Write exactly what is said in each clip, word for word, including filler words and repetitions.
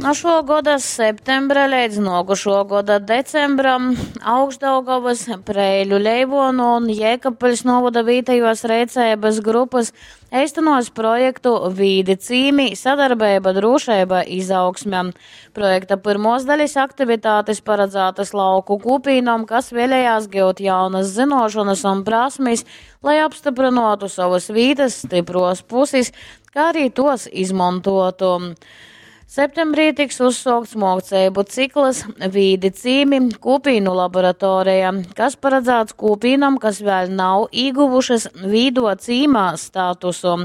No šo goda septembra leidz nuokušo goda decembram Augšdaugavas, Preiļu, Leivonu un Jēkabpiļs novada vītējos reiceibas grupas eistenos projektu Vīdi cīmi sadarbeiba, drūšeiba, izaugsme. Projekta pyrmuos dalis aktivitātes paradzātas lauku kūpīnom, kas vēlējās giut jaunas zynuošonys un prasmis, lai apstyprynuotu sovys vītys stypruos pusis, kā arī tos izmontuotu. Septembrī tiks uzsuokts muoceibu cikls Vīdi cīmi kūpīnu laboratoreja, kas paradzāts kūpīnom, kas vēļ nav īguvušas vīdo cīma statusu.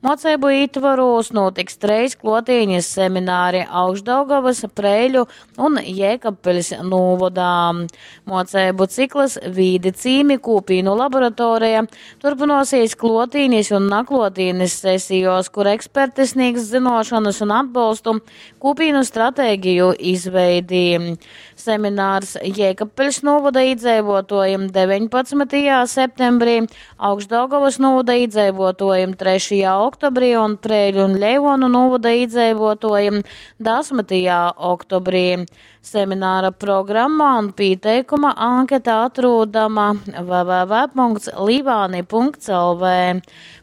Muoceibu ītvarūs nūtiks treis klotīņas semināri Augšdaugavas, Preiļu un Jēkabpiļs nūvodā. Muoceibu cikls Vīdi cīmi kūpīnu laboratoreja turpinosies klotīņas un naklotīnes sesijos, kur eksperti sniegs zynuošonys un atbolstu kūpīnu stratēģiju izveidī. Seminārs Jēkabpiļs novada īdzeivuotuojim deveņpadsmytajā septembrī, Augšdaugavas novada īdzeivuotuojim trešajā oktobrī un Preiļu un Leivonu novada īdzeivuotuojim desmitajā oktobrī. Semināra programma un pieteikuma anketa atrūdama w w w punkts līvāni punkts l v.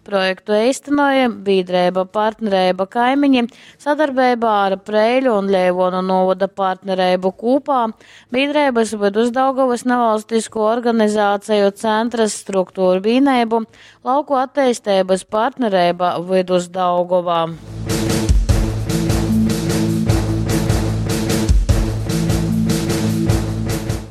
Projektu eistenoja bīdreiba Partnereiba kaimiņi sadarbībā ar Preiļu un Leivonu novada partnereibu kopā, bīdreibas Vidusdaugavas nevalstisko organizāciju centras struktūru vīneibu, lauku attīstības partnereiba Vidusdaugava.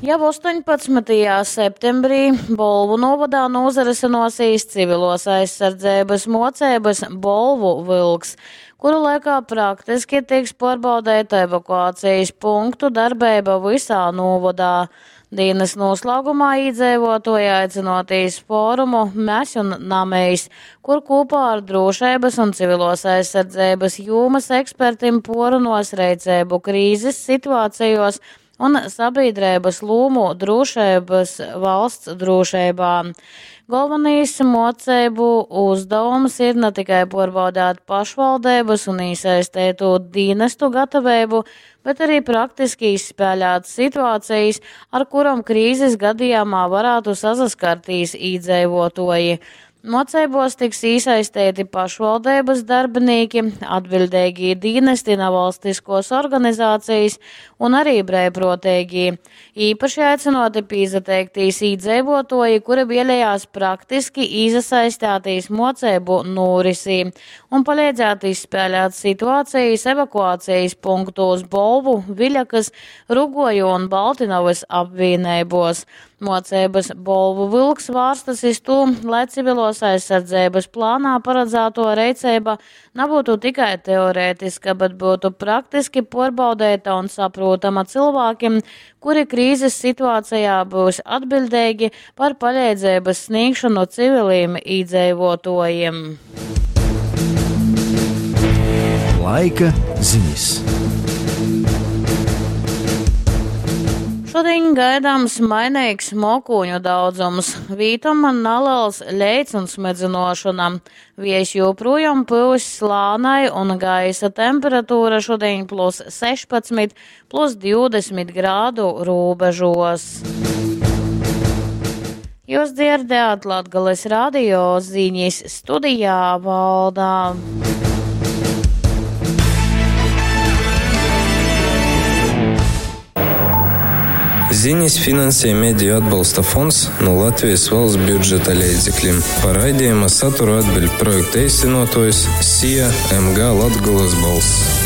Jau astoņpadsmitajā septembrī Bolvu novadā nozarisināsies civilos aizsardzības mocības Bolvu vilks, kuru laikā praktiski tiks pārbaudēta evakuācijas punktu darbība visā novadā. Dienas noslēgumā iedzīvotāji aicinoties forumu Mēs un Namejs, kur kopā ar drošības un civilos aizsardzības jomas ekspertiem porunos reicēbu krīzes situācijos un sabiedrības lūmu drošības valsts drošībā. Galvenais mocību uzdevums ir ne tikai pārbaudīt pašvaldības un iesaistīto dienestu gatavību, bet arī praktiski izspēlēt situācijas, ar kuram krīzes gadījumā varētu sasaskartīs iedzīvotāji. Mocībos tiks iesaistīti pašvaldības darbinieki, atbildīgie dienesti, nevalstiskos organizācijas un arī brīvprātīgie. Īpaši aicinoti pīzateiktīs iedzīvotāji, kuri vēlējās praktiski iesaistīties mocību norisī un palīdzēt izspēlēt situācijas evakuācijas punktos Bolvu, Viļakas, Rugoju un Baltinavas apvienībos. Mocības Bolvu vilks vārstas iz to, lai civilos aizsardzības plānā paredzēto reiceiba nebūtu tikai teorētiska, bet būtu praktiski pārbaudēta un saprotama cilvēkiem, kuri krīzes situācijā būs atbildīgi par palīdzības sniegšanu civiliem iedzīvotājiem. Laika ziņas. Šodien gaidāms mainīgs mokūņu daudzums, vītam naliels leits un smedzinošana. Viejs joprojām pūs slānai un gaisa temperatūra šodien plus sešpadsmit, plus divdesmit grādu robežos. Jūs dzirdējāt Latgales radio ziņas studijā Valdā. Ziņas finansē Mediju atbalsta fonds no Latvijas valsts budžeta līdzekļiem. Par raidījuma saturu atbild projekta īstenotājs S I A M G Latgolas balss.